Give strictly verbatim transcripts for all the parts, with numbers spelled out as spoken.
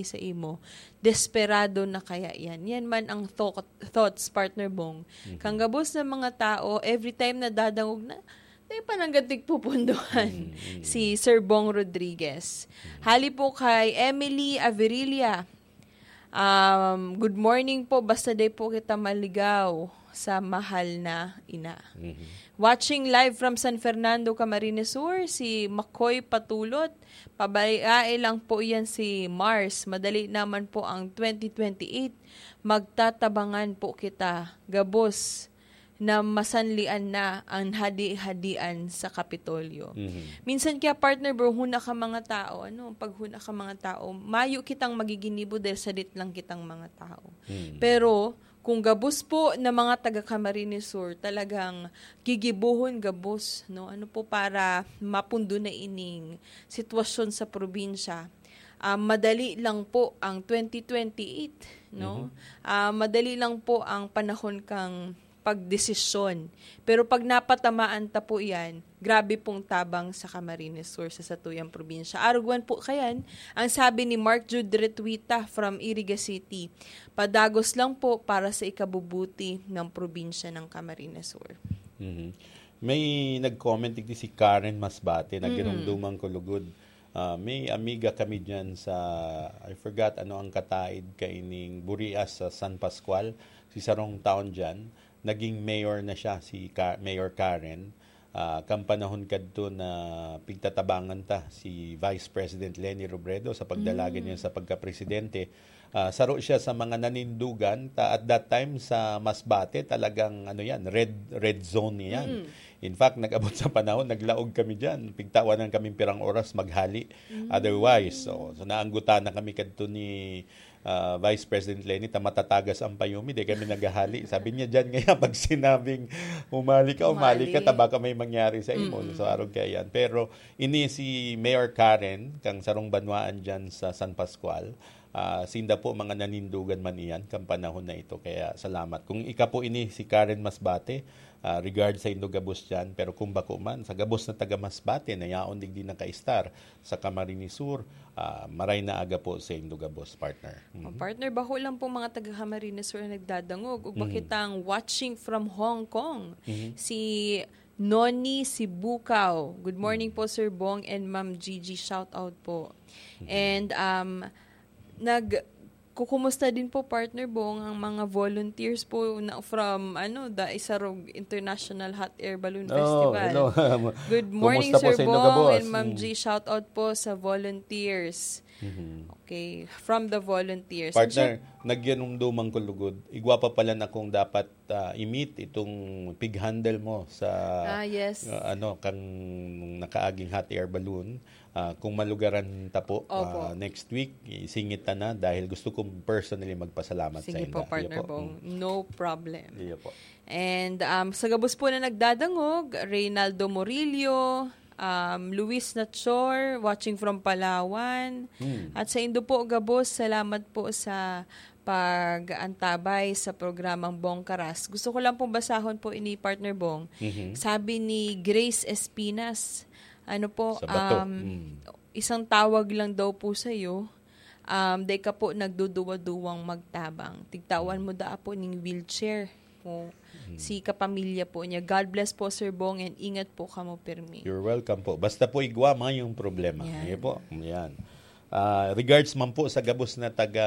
sa imo, desperado na kaya yan? Yan man ang thought, thoughts, partner Bong. Kang gabos na mga tao, every time na dadangog na, tayo pa nang gantig pupunduhan. Si Sir Bong Rodriguez. Hali po kay Emily Averilla. Um, good morning po. Basta day po kita maligaw sa mahal na ina. Watching live from San Fernando, Camarines Sur, si Makoy Patulot. Pabayae lang po yan si Mars. Madali naman po ang twenty twenty-eight. Magtatabangan po kita. Gabos na masanlian na ang hadi-hadian sa Kapitolyo. Minsan kaya, partner Bong, huna ka mga tao, ano, pag huna ka mga tao, mayo kitang magiginibo dahil sadit lang kitang mga tao. Pero kung gabos po na mga taga Camarines Sur, talagang gigibuhon gabos, no? Ano po, para mapundo na ining sitwasyon sa probinsya. Ah, madali lang po ang twenty twenty-eight, no? Ah, madali lang po ang panahon kang pagdesisyon. Pero pag napatamaan ta po yan, grabe pong tabang sa Camarines Sur, sa satuyang probinsya. Arugwan po kayan, ang sabi ni Mark Jude Retuita from Iriga City, "Padagos lang po para sa ikabubuti ng probinsya ng Camarines Sur." Mhm. May nag-comment digdi si Karen Masbate, nagirumduman ko lugod. Ah, may amiga kami dyan sa, I forgot ano ang kataid kaining Burias sa San Pascual, si sarong taon dyan. Naging mayor na siya, si Ka-, Mayor Karen. Ah, kan panahon kadto na pigtatabangan ta si Vice President Leni Robredo sa pagdalagan niya sa pagkapresidente. Ah, saro siya sa mga nanindugan ta at that time sa Masbate, talagang ano yan, red red zone yan. In fact, nag-abot sa panahon, naglaog kami diyan. Pigtawanan kami pirang oras maghali. Otherwise, so, so naanggutan na kami kadto ni ah, Vice President Leni ta matatagas ang payumi, di kami naghahali. Sabi niya, "Diyan ngayon, pag sinabing humali ka, humali ka, ta baka may mangyari sa imo." So, arog kaya yan. Pero ini si Mayor Karen, kang sarong banwaan dyan sa San Pascual, ah, sinda po mga nanindugan man iyan kan panahon na ito. Kaya salamat. Kung ika po ini si Karen Masbate, ah, regard sa indo gabos dyan. Pero kung bako man, sa gabos na taga Masbate na yaon digdi nakaistar sa Camarines Sur, ah, maray na aga po sa indo gabos, partner. Oh, partner, bako lang po mga taga Camarines Sur ang nagdadangog. Ug bakitang watching from Hong Kong, si Noni Sibukaw. Good morning po, Sir Bong and Ma'am Gigi. Shout out po. And, um, nag-, kukumusta din po, partner Bong, ang mga volunteers po na from, ano, the Isarog International Hot Air Balloon Festival. Hello. Good morning, Sir Bong and Ma'am G. Shout out po sa volunteers. Okay, from the volunteers. Partner, nagyanumduman ko lugod. Igwa pa pala na kung dapat ah, i-meet itong pig handle mo sa, ah, ano, kang nakaaging hot air balloon. Ah, kung malugaran ta po, ah, next week, isingit ta na dahil gusto kong personally magpasalamat sa inda. Sige po, partner Bong. No problem. Iyo po. And, um, sa gabos po na nagdadangog, Reynaldo Murillo, um, Luis Nachor, watching from Palawan. At sa indo po, gabos, salamat po sa pag-antabay sa programang Bong Karas. Gusto ko lang pong basahon po ini, partner Bong. Sabi ni Grace Espinas, ano po, um, isang tawag lang daw po sa'yo, um, dai ka po nagduduwa-duwang magtabang. Tigtawan mo daa po ning wheelchair mo, si kapamilya po niya. God bless po, Sir Bong, and ingat po kamo pirmi. You're welcome po. Basta po igwa mayong problema. Yan. Sige po. Yan. Ah, regards man po sa gabos na taga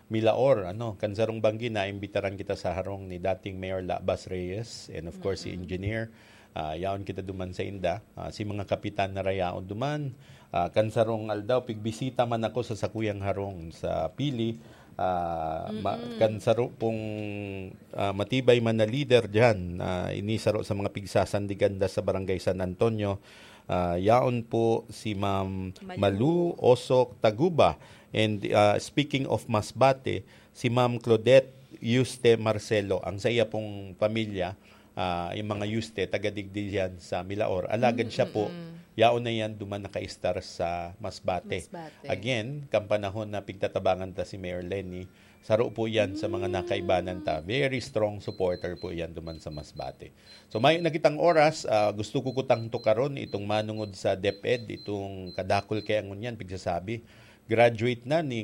Milaor, ano, kan sarong banggi, naimbitaran kita sa harong ni dating Mayor Labas Reyes and of course si Engineer. Ah, yaon kita duman sa inda. Ah, si mga kapitan na rayaon duman. Ah, kan sarong aldaw, pigbisita man ako sa sakuyang harong sa Pili. Ah, ma-, kan saro pong, ah, matibay man na leader diyan, ah, ini saro sa mga pigsasandigan da sa Barangay San Antonio. Ah, yaon po si Ma'am Malu. Malu Osok Taguba and, ah, speaking of Masbate, si Ma'am Claudette Yuste Marcelo, ang sa iya pong pamilya, ah, yung mga Yuste, taga digdi yan sa Milaor. Alagad siya po, yaon na yan duman nakaistar sa Masbate. Masbate. Again, kan panahon na pigtatabangan ta si Mayor Leni, saro po yan sa mga nakaibanan ta. Very strong supporter po yan duman sa Masbate. So, mayo na kitang oras, ah, gusto ko kutang tukaron itong manungod sa DepEd, itong kadakul kaya ngunyan, pigsasabi. Graduate na ni